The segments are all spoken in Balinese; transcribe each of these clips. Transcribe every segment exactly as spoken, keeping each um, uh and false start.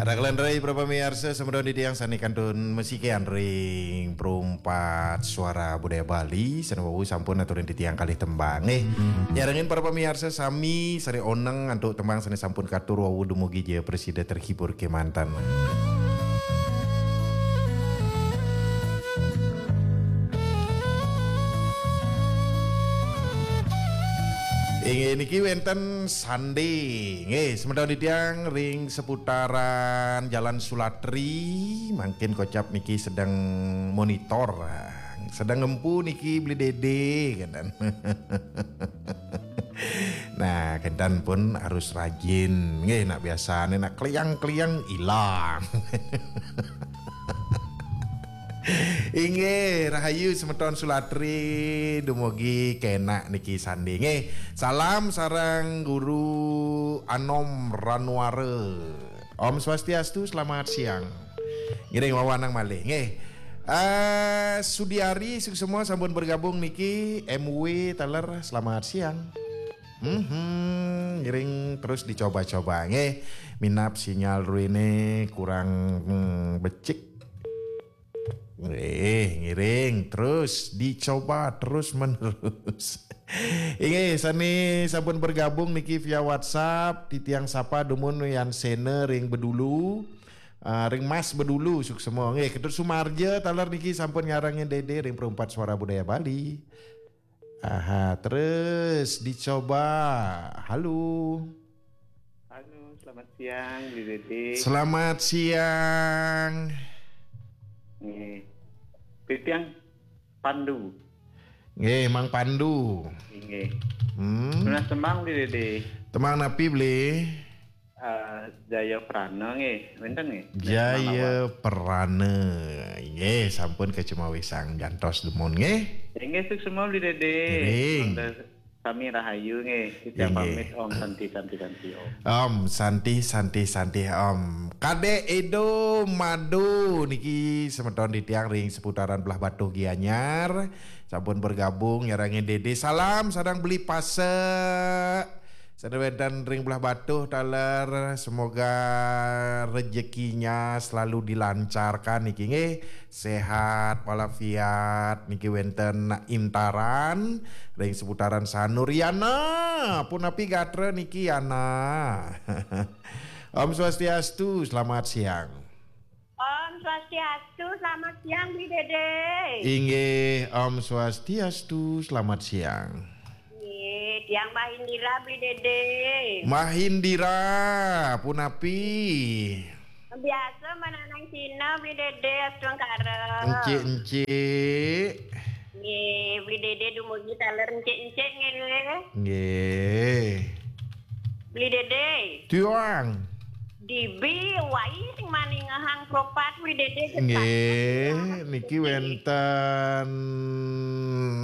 Raghalan rai para pamiarsa, semeton titiang sane kantun masikian ring Perumpat Suara Budaya Bali, sane wau sampun aturin titiang kalih tembang. Eh, nyarengin para pamiarsa sami sane oneng antuk tembang sane sampun katur wau dumugi ja prasida terhibur kemanten. Inggih niki wenten sandi. Nggih, semeton titiang ring seputaran Jalan Sulatri, mangkin kocap niki sedeng monitor. Sedeng ngempu niki Beli Dede, kenten. Nah, kenten pun harus rajin. Nggih, nak biasane nak kliang-kliang ilang. Inggih, rahayu semeton Sulatri, dumugi kenak niki sandi. Nggih, salam sareng Guru Anom Ranuara. Om Swastiastu, selamat siang. Ngiring wawanang malih, nggih. Eh, Sudiari, suksma sampun bergabung niki, M W taler, selamat siang. Mhm, ngiring terus dicoba-coba, nggih. Minab sinyal ruene kurang, hmm, becik. Eh, ngiring terus dicoba terus menerus. Inggih, sane sampun bergabung niki via WhatsApp, titiang sapa dumun Yan Sena ring Bedulu, ah, ring Mas Bedulu, suksma. Nggih, Ketut Sumarja taler niki sampun nyarengin Dede ring Perumpat Suara Budaya Bali. Aha, terus dicoba. Halo. Halo, selamat siang, Bli Dede. Selamat siang. Nggih. Titiang Pandu. Nggih, Mang Pandu. Nggih. Hmm. Nunas tembang, Bli Dede. Tembang napi, Bli? Eh, Jaya Prana nggih, wenten nggih? Jaya Prana. Nggih, sampun kacumawisang, jantos dumun nggih. Inggih, suksma Bli Dede. Ngiring. Wonten sami rahayu nggih. Titiang pamit, Om Santi, Santi, Santi, Om. Om Santi, Santi, Santi, Om. Kadek Edo Mado niki semeton titiang ring seputaran Belah Batuh Gianyar. Sampun bergabung nyarengin Dede. Salam sareng Beli Pasek. Sane wenten ring Belah Batuh taler, semoga rezekinya selalu dilancarkan niki nggih. Sehat walafiat niki wenten Intaran ring seputaran Sanur. Yana, punapi gatra niki Yana? Om Swastiastu, selamat siang. Om Swastiastu, selamat siang, Bli Dede. Inggih, Om Swastiastu, selamat siang. Nggih, tiang Mbah Indira, Bli Dede. Mbah Indira, punapi? Biasa mananang Cina, Bli Dede, astungkara. Encik-encik. Nggih, Bli Dede dumugi taler encik-encik nggih. Nggih. Bli Dede. Tiang. Dibi wai sing maningehang kropat Bli Dede. Nggih, niki wenten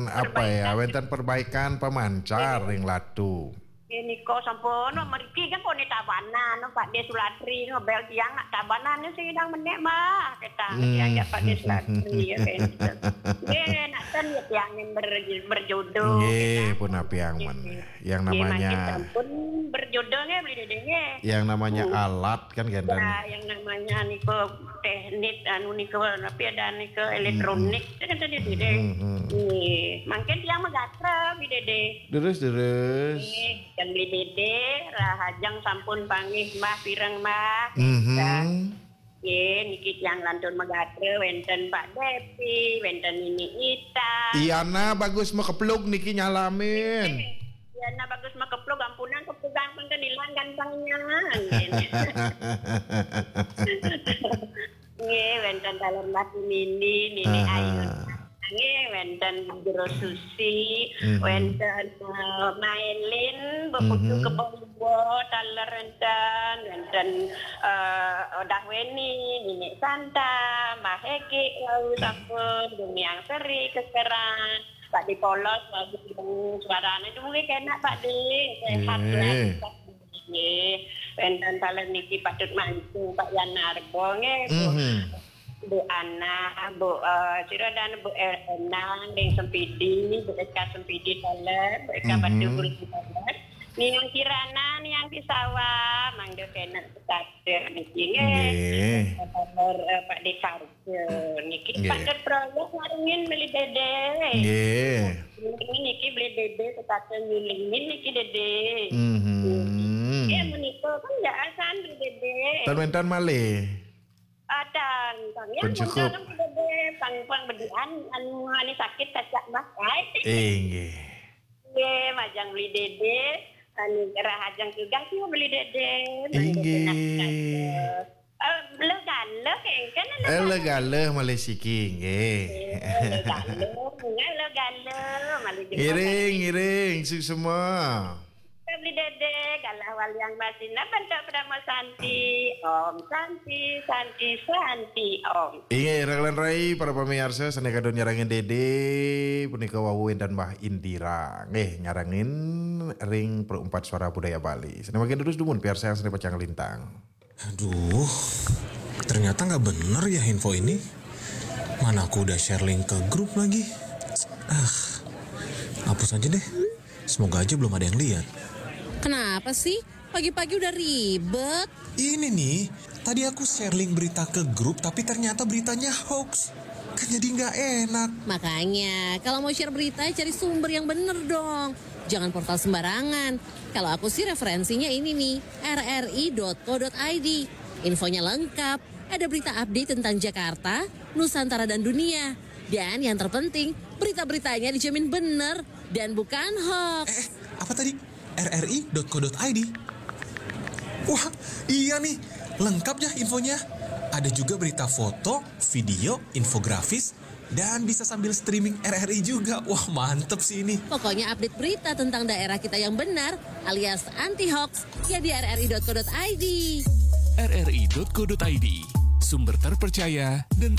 apa ya? Perbaikan. Wenten perbaikan pamancar ring Latu. Nggih, nika sampun, mriki kan pone Tabanan, Pak De Sulatri, ngebel tiang nak Tabanan sing idang menek mah, kita. Hmm. Tiang ya Pak De Sulatri, ya, kan. Nggih, nak ten ya tiang yang ber-, berjodoh, nggih, kita. Punapi ampun. Nggih. Yang namanya, nggih, makin sampun berjodoh nggih, Bli Dede nggih. Yang namanya alat kan, kenten. Ya, yang namanya nika teknik, anu nika, tapi ada nika elektronik, kan tadi Bli Dede. Hmm, hmm. Nggih, mangkin tiang magatra, Bli Dede. Terus, terus. Nggih, yang Bli Dede, rahajeng sampun panggih Mbah Pireng, Mbah. Mhm. Nggih, niki tiang lantun magatra, wenten Pak Depi, wenten Nini Ita. Iyana Bagus Makeplug niki nyalamin. Nggih, Iyana Bagus Makeplug, ampunang keplugang pun kan ilang gantengnya. Nggih. Nggih, wenten taler Mbah Nini, Nini Ayu. Nggih, wenten Jero Susi, wenten, eh, Mailin, Mbok Putu Kebon Iwo, taler wenten, wenten, eh, Odah Weni, Nini Santa, Mbah Hegi, wau sampun, Gumiang Seri, keseran, Pak Di Polos, wau sampun, suarane dumugi kenak, Pak Di, sehat selalu, Pak Di. Nggih, wenten taler niki patut mancung, Pak Yan Arbo, nggih, Bu. Bu Ana, Bu, eh, sira dan Bu Enang, ring Sempidi, Bu Eka Sempidi taler, Bu Eka Batu Gulung taler. Niang Kirana, Niang Kisawa, mangda kenak sekata niki nggih. Nggih. Nomor eh, Pak Dekarja niki Nggih. Pak Dot Proyek ngarungin beli dede. Nggih. Ini niki beli dede sekata nyulingin niki dede. Mhm. Ya menika kan ndak asan beli dede. Ten wénten malih. Adan, pang ya Pun cukup. Muncul beli dede, pang pang bedian anu anu sakit kacak mbah kai. Inggih. Nggih, majang beli dede, anu rahajeng tugas ya beli dede. Inggih. Eh, lega-lega kengken Eh, lega-lega malih siki nggih. Eh, lega-lega, lega-lega, malih jempol Ngiring, ngiring, suksma. Beli dede, galah waliang basina bentuk Pradama Santi. Om Santi, Santi, Santi, Om. Inggih, Raglan Rai, para pamiarsa, sané kadon nyarengin Dede, punika wau wénten Mbah Indira. Nggih, nyarengin ring Perempat Suara Budaya Bali. Sané mangkin terus dumun piarsa sané pacang lintang. Aduh, ternyata nggak bener ya info ini. Mana aku udah share link ke grup lagi. Ah, hapus aja deh. Semoga aja belum ada yang lihat. Kenapa sih? Pagi-pagi udah ribet. Ini nih, tadi aku share link berita ke grup tapi ternyata beritanya hoax. Kan jadi nggak enak. Makanya, kalau mau share berita, cari sumber yang bener dong. Jangan portal sembarangan. Kalau aku sih referensinya ini nih, rri.co.id. Infonya lengkap, ada berita update tentang Jakarta, Nusantara dan dunia. Dan yang terpenting, berita-beritanya dijamin bener dan bukan hoax. Eh, apa tadi? rri.co.id. Wah, iya nih, lengkap ya infonya. Ada juga berita foto, video, infografis, dan bisa sambil streaming RRI juga. Wah, mantep sih ini. Pokoknya update berita tentang daerah kita yang benar alias anti hoax ya di rri.co.id. rri.co.id, sumber terpercaya dan